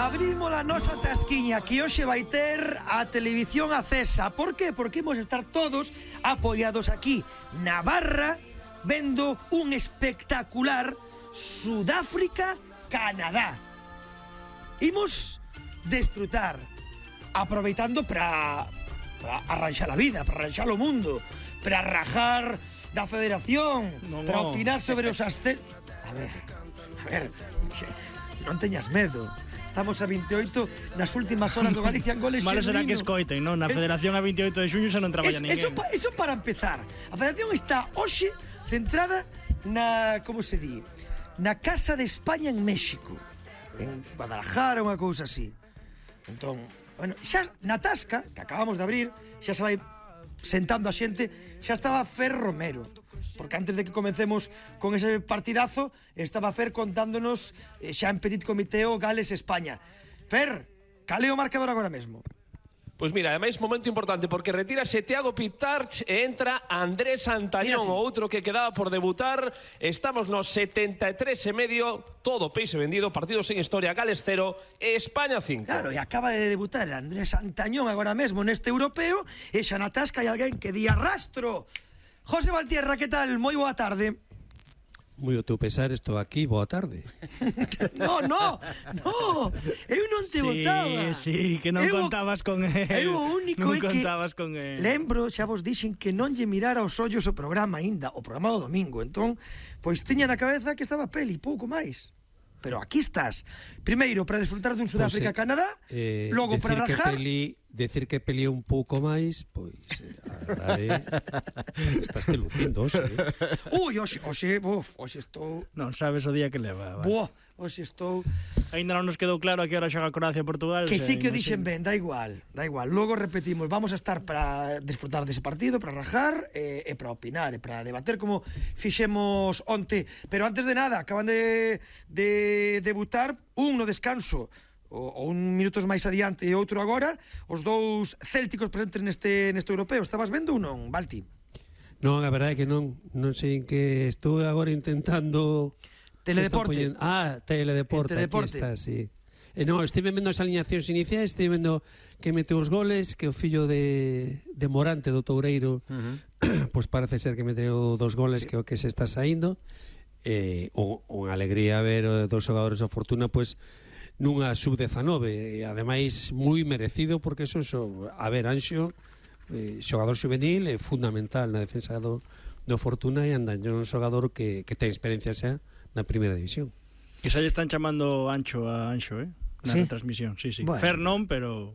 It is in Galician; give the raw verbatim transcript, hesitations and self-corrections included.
Abrimos a nosa tasquiña que hoxe vai ter a televisión acesa. Por que? Porque imos estar todos apoiados aquí na barra vendo un espectacular Sudáfrica-Canadá. Imos desfrutar aproveitando para para arranxar a vida, para arranxar o mundo, para rajar da federación, no, para no. opinar sobre os ascensos. A ver, a ver, non teñas medo. Estamos a veintioito nas últimas horas do Galicia en goles. Malo será que escoiten, non? Na Federación a veintioito de xuño xa non traballa ninguén. Eso, eso para empezar. A Federación está hoxe centrada na, como se di, na Casa de España en México, en Guadalajara, unha cousa así. Entón, bueno, xa na tasca que acabamos de abrir, xa se vai sentando a xente, xa estaba Fer Romero. Porque antes de que comencemos con ese partidazo, estaba Fer contándonos eh, xa en petit comité o Gales-España. Fer, cal é o marcador agora mesmo? Pois mira, ademais momento importante porque retírase Thiago Pitarch e entra Andrés Antañón, o outro que quedaba por debutar. Estamos nos setenta e tres e medio, todo peixe vendido, partido sen historia, Gales cero, España cinco. Claro, e acaba de debutar Andrés Antañón agora mesmo neste europeo, e xa na tasca hai alguén que di arrastro. José Valtierra, que tal? Moi boa tarde. Moi o teu pesar, estou aquí, boa tarde. No, no, no, eu non te sí, votaba. Sí, que non eu, contabas con él. Eu o único non é que contabas con él. Lembro, xa vos dixen que non lle mirara os ollos o programa aínda, o programa do domingo. Entón, pois tiña na cabeza que estaba peli, pouco máis. Pero aquí estás. Primeiro, para desfrutar dun Sudáfrica-Canadá, eh, logo para rajar... Que peli, decir que peli un pouco máis, pois... Eh, estás te lucindo, hoxe. Ui, hoxe, hoxe, buf, hoxe estou... Non sabes o día que leva. Buah, hoxe estou... Ainda non nos quedou claro a que hora xoga Croacia-Portugal. Que sí que o dixen ben, da igual, da igual. Logo repetimos, vamos a estar para desfrutar dese partido, para rajar, e, e para opinar, e para debater como fixemos onte. Pero antes de nada, acaban de, de debutar un no descanso, o, o un minutos máis adiante e outro agora, os dous célticos presentes neste, neste europeo. Estabas vendo ou non, Balti? Non, a verdade é que non, non sei en que estou agora intentando... Teledeporte. Ah, Teledeporte, Teledeporte. Aquí está, sí. E non, estive vendo as alineacións iniciais, estive vendo que meteu os goles, que o fillo de, de Morante, do Toureiro, uh-huh. pois parece ser que meteu dos goles, sí. Que o que se está saindo. Eh, unha alegría ver dos xogadores da Fortuna, pois, nunha sub dezanove, e ademais moi merecido, porque eso, eso a ver, Anxo, eh, xogador juvenil, é fundamental na defensa do, do Fortuna, e Andañón, xogador que, que ten experiencia xa na primeira división. Que xa lle están chamando Ancho a Anxo, eh? Na sí. retransmisión, sí, sí. Bueno. Fer non, pero...